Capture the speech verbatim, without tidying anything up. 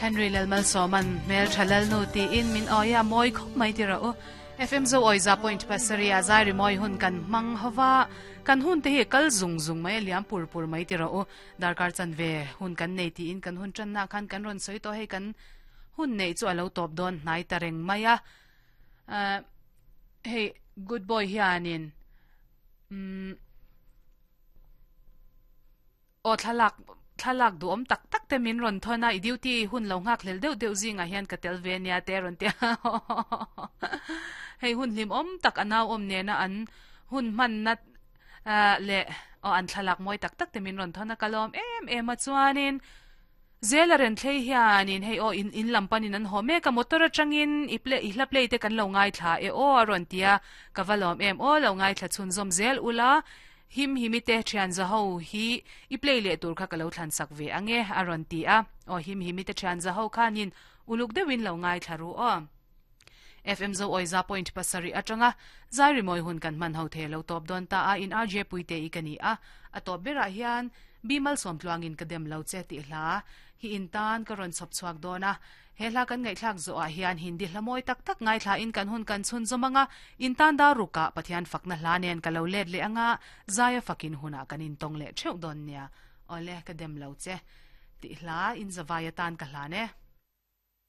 Henry Lalmalsawman hmel tha lalnu tiin min awia mawi khawp mai ti rawh u. F M zo awi za point pasarih a zai rimawi hun kan hmang hova kan hun te hi kal zung zung mai a liam pur pur mai ti rawh u. Darkar chan ve hun kan nei tiin kan hun tanna khan kan rawn sawi tawh hei kan hun nei chu a lo tawp dawn hnai ta reng mai a. Hei good boy hianin um aw thlalak thlalak du om tak tak te min rawn thona i duty hun lo ngak hlel deuh deuh zinga hian ka tel ve nia te rawn tia. Hei hun hlim om tak anaw om ne na an hun man na le o an thlalak moi tak tak te min rawn thona kalom em em a chuanin zela ren thlei hianin hei o in in lampanin an ho me ka motor atangin i play i hla play te kan lo ngai thla e o a rawn tia ka valom em o lo ngai thla chhun zom zel ula him himi te thian za ho hi i play le tur kha ka lo thlan sak ve ange a rawn ti a o him himi te thian za ho khanin uluk deuhin lo ngai thla ru o. F M zo oiza point pasari atanga zai rimoi hun kan man ho the lo top don ta a in R J puite i kani a a top bera hian bimal som tluangin ka dem lo che ti hla hi in tan ka ron chop chuak dona he hla kan ngai thlak zo a hian hindi hlamoi tak tak ngai thla in kan hun kan chhun zomanga in tan da ruka pathian fakna hla nen ka lo let le anga zaya fakin huna kan in tong le theu don nia ole ka dem lo che ti hla in zawaya tan ka hla ne.